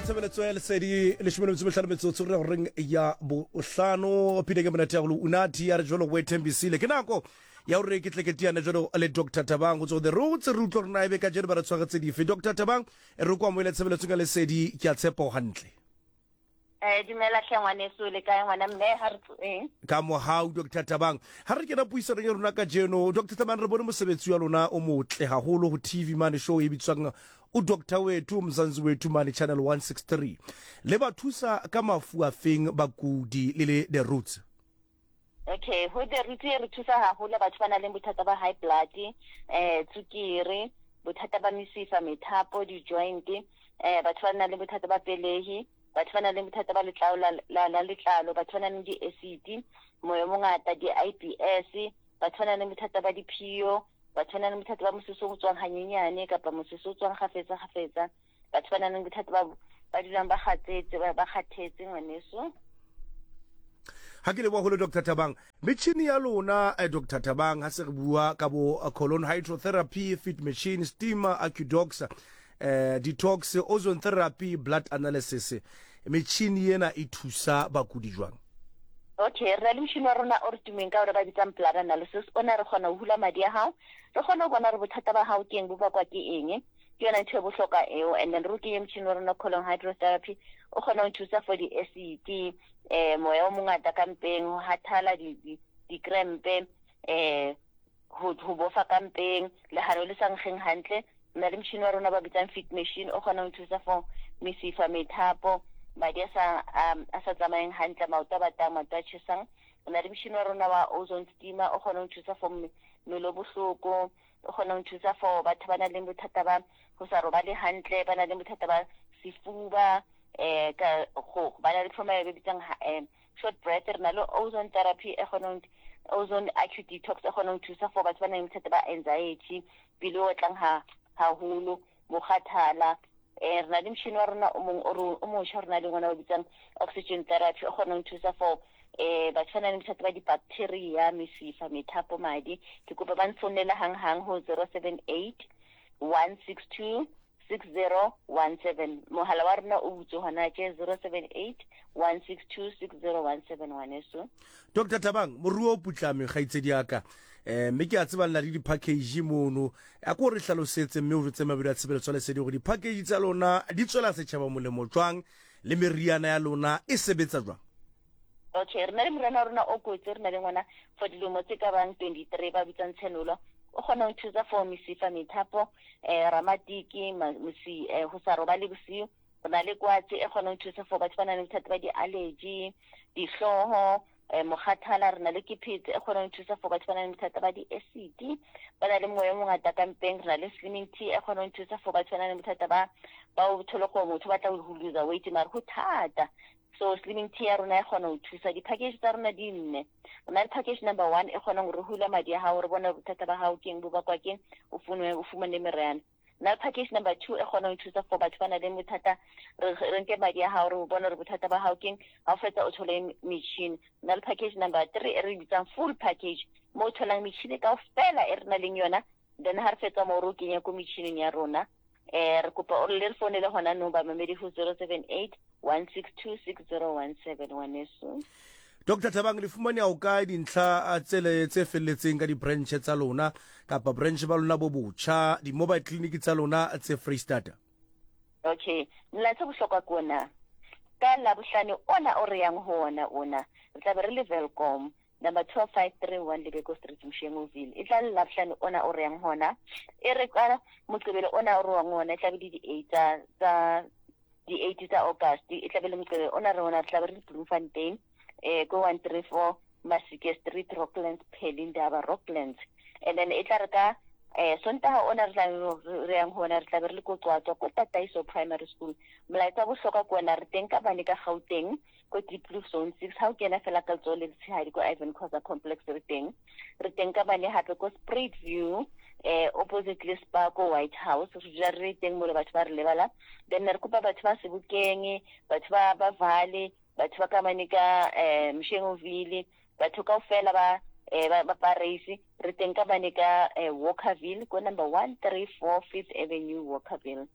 Amogele tshebeletso ya lesedi leshome le metso mehlano metsotso re goreng ya bohlano pina ke monate ya golo unathi ya re jalo go ethembisile ke nako ya gore ke tle ke tiane jalo le Dr Thabang go tswa the roots re utlwa gore na ebe ka jeno ba re tshwaretse dife. Dr Thabang re ko amohele tshebeletsong ya lesedi ke a tshepa o hantle. Eh, dumela hle ngwaneso, le kae ngwana mme? Ha re tsoeng. Ka mohau Dr Thabang. Ha re kena puisanong ya rona kajeno, Dr Thabang, re bone mosebetsi wa lona o motle haholo ho TV mane show e bitswang o Doctor Wethu Mzansi Wethu mane Channel 163. Le ba thusa ka mafu afeng bakudi le le The Roots? Okay, ho The Roots e re thusa haholo batho ba nang le bothata ba high blood, tsukiri, bothata ba mesifa, methapo, di-joint, batho ba nang le bothata ba pelehi, batho ba nang le bothata ba letlalo la letlalo, batho ba nang le di-acid, moya o mongata, di-IBS, batho ba nang le bothata ba diphio, batho ba nang le bothata ba mosese o tswang hanyenyane kapa mosese o tswang kgafetsa kgafetsa, batho ba nang le bothata ba ba dulang ba kgatsetse, ba kgathetse ngwaneso. Ha ke leboha holo Dr. Thabang. Metjhini ya lona Dr. Thabang ha se re bua ka bo colon hydrotherapy, fit machine, steamer, acudox, detox, ozone therapy, blood analysis. Metjhini ena e thusa bakudi jwang? Okay, re na le motšhini wa rona o re tumeng ka ona ba bitsang blood analysis. Ona re kgona ho hula madi a hao, re kgone ho bona hore bothata ba hao ke eng, bo bakwa ke eng. Ke yona ntho e bohlokwa eo. And then re o kenye motšhini wa rona colon hydrotherapy, o kgona ho thusa for di-acid, moya o mongata ka mpeng, ho hathala dikrempe, ho bofa ka mpeng, lehano le sa nkgeng hantle. Re na le motšhini wa rona ba bitsang fit machine, o kgona ho thusa for mesifa, methapo, madi a sa tsamayeng hantle, maoto a batang, maoto a tjhesang. Re na le motšhini wa rona wa ozone steamer, o kgona ho thusa for mmele o bohloko, o kgona ho thusa for batho ba nang le bothata ba ho sa robale hantle, ba nang le bothata ba sefuba, ka go ba na le trauma e ba bitsang short breath. Re na le ozone therapy e kgonang, ozone acute detox e kgonang ho thusa for batho ba nang le bothata ba anxiety, pelo e otlang haholo, mokgathala. Re na le motšhini wa rona o mong o motjha re na le ona o bitsang oxygen therapy, o kgonang ho thusa for batho ba nang le bothata ba di-bacteria, mesifa, methapo, madi. Ke kopa ba nfounele hang-hang ho 078 162 6017. Mohala wa rona o butswe hona tje, 078 162 6017 ngwaneso. Doctor Thabang, moruo o putlame kgaitsedi ya ka. Mme ke a tseba le na le di-package mono. A ko re hlalosetse mme o jwetse mabedi a tshebeletso ya lesedi hore di-package tsa lona di tswela setjhaba molemo jwang le meriana ya lona e sebetsa jwang? Okay, re na le moriana wa rona o kotsi, re na le ngwana for dilemo tse ka bang 23 ba bitsang Tshenolo. O kgona ho thusa for mesifa, methapo, ramatiki, ho sa robale bosiu. Re na le kwatsi e kgonang ho thusa for batho ba nang le bothata ba di-allergy, dihlooho, mokgathala. Re na le kephete e kgonang ho thusa for batho ba nang le bothata ba di-acid, ba na le moya o mongata ka mpeng. Re na le slimming tea e kgonang ho thusa for batho ba nang le bothata ba o thole gore motho o batla ho lose weight mare ho thata. So slimming tea ya rona e kgona ho thusa. Di-package tsa rona di nne. Re na le package number 1 e kgonang hore hula madi a hao, re bone bothata ba hao keng, bo bakwa keng, o fumane meriana. Na le package number 2 e kgonang ho thusa for batho ba nang le bothata, re nke madi a hao, re bone hore bothata ba hao keng, ha o fetsa o thole metjhini. Na le package number 3 e re bitsang full package, mo o tholang metjhini kaofela e re nang leng yona, then ha re fetsa moo re o kenya ko metjhining ya rona. Re kopa o le re founele hona nou bamamedi ho 078 162 6017 ngwaneso. Doctor Thabang, le fumaneha ho kae dintlha tsele tse felletseng ka di-branch tsa lona kapa branch ba lona bo botjha, di-mobile clinic tsa lona tse Freistata? Okay, molaetsa bohlokwa ke ona. Ka Labohlano ona o re yang ho ona ona, re tla be re le Welkom number 12531 Lebeko Street, Moshengoville. E tla le Labohlano ona o re yang hona. E re ka Moqebelo ona o re wang ona, e tla be le di-eight tsa di-eight tsa August. E tla be le Moqebelo ona re ona, re tla be re le Bloemfontein, ko 134 Masike Street, Rocklands, Pelindaba, Rocklands. And then e tla re ka Sontaha ona re tla re yang hona, re tla be re le ko Qwaqwa, ko Tataiso Primary School. Molaetsa wa bohlokwa ke ona, re teng ka bane ka Gauteng, ko Deep Blue Zone 6. Ha o kena fela ka letsoho le letshehadi ko Ivan Khoza Complex re teng. Re teng ka bane hape ko Spruit View, opposite le Spa ko White House. Re dula re teng mo le batho ba re lebala. Then re kopa batho ba Sebokeng, batho ba Valley, batho ba ka mane ka Moshengoville, batho kaofela ba Parys. Re teng ka bane ka Walkerville ko number 134 Fifth Avenue, Walkerville.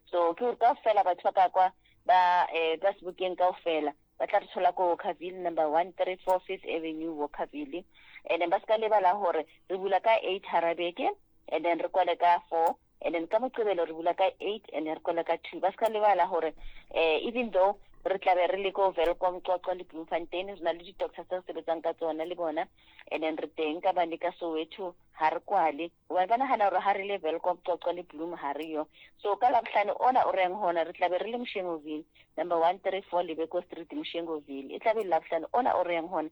So ke hore kaofela batho ba ka kwa Ba eh ba Sebokeng kaofela ba tla re thola ko Walkerville number 134 Fifth Avenue Walkerville. And then ba ska lebala hore re bula ka 8 hara beke and then re kwale ka 4 and then ka Moqebelo re bula ka 8 and then re kwale ka 2. Ba ska lebala hore eh even though re tlabe re le ko Welkom, Qwaqwa le Bloemfontein, re na le di-doctor tse re sebetsang ka tsona le bona, and then re teng ka bane ka Soweto ha re kwale. Hobane ba nahana hore ha re le Welkom, Qwaqwa le Bloem ha re yo. So ka Labohlano ona o reng hona re tlabe re le Moshengoville, number 134 Lebeko Street, Moshengoville. E tlabe e le Labohlano ona o reng hona.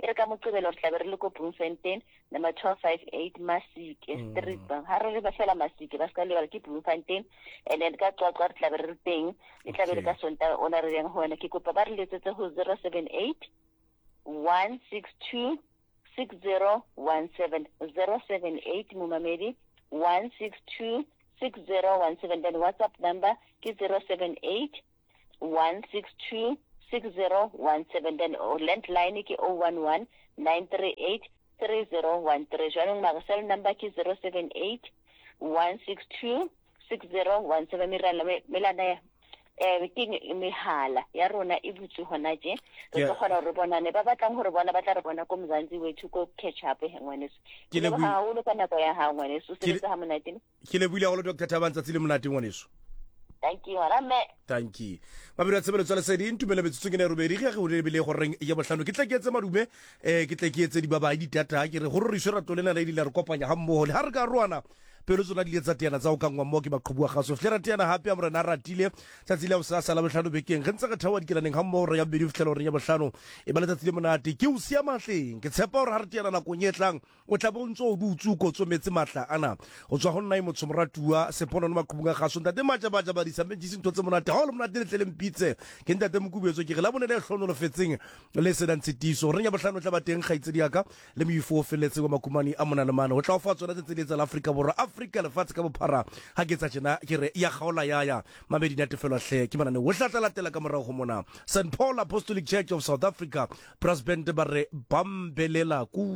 E re ka Moqebelo re tlabe re le ko Bloemfontein, number 1258 Masike Street. Ha re le ba fela Masike, ba ska lebala ke Bloemfontein. And then ka Qwaqwa re tlabe re le teng. E tlabe le ka Sontaha ona re reng hona. Ke kopa ba re letsetse ho 078 162 6017 078 momamedi 162 6017 then WhatsApp number ke 078 162 6017 then oh, landline ke 011 938 3013 jwanong mara cell number ke 078 162 6017 merala melana ya eh ke mehala ya rona e butswe hona je re tlo kgona gore bonane ba batlang gore bona ba tla re bona ko Mzansi wethu ko catch up he ngwaneso ke leboga haholo ka nako ya hao ngwaneso o sebetsa ha monate. Ke lebohile haholo Dr Thabang, tsatsi le monate ngwaneso. Thank you ngwana mme. Thank you. Mabedi a tshebeletso ya lesedi ntumele metsotso ke ne robedi ge go lebile go reng ya bohlano ke tle ke etse madume eh ke tle ke etse dibabai ditata ke re go roriswe rato lena le la re kopanya ga mmogo le ha re ka roana pelo tsona di ile tsa teana tsa go kangwa mmogo ke maqhubu a gaso fitlhe ra teana gape a morena a ratile tsatsi la bosasa la bohlano bekeng ge ntse re theoa dikelaneng ga mmogo re ya bobedi go fitlhela goreng ya bohlano e ba letsatsi le monate ke o sia matleng ke tshepa gore ga re teana nakong e tlang O tla be o ntse o dutse o kotsometse matla ana go tswa go nna e motsho moratuwa seponono maqhubung a gaso ntate majabaja badisa mentšisi ntho tse monate ga o le monate letle le mpitse ke ntate mokubetso ke re la bone le hlonolofetseng le senang tshitiso reng ya bohlano tla ba teng kgaitsedi yaka le moifo o feletseng wa makumane a mona le mane go tla o fa tsona tse tse di tsa la Afrika Borwa Afrika lefatshe ka bophara ga ke tsa tjena ke re ya kgaola ya ya mamedi natefelwa hle ke manane o tla latela ka morago go mona St Paul Apostolic Church of South Africa Brass Band ba re bambelela ku.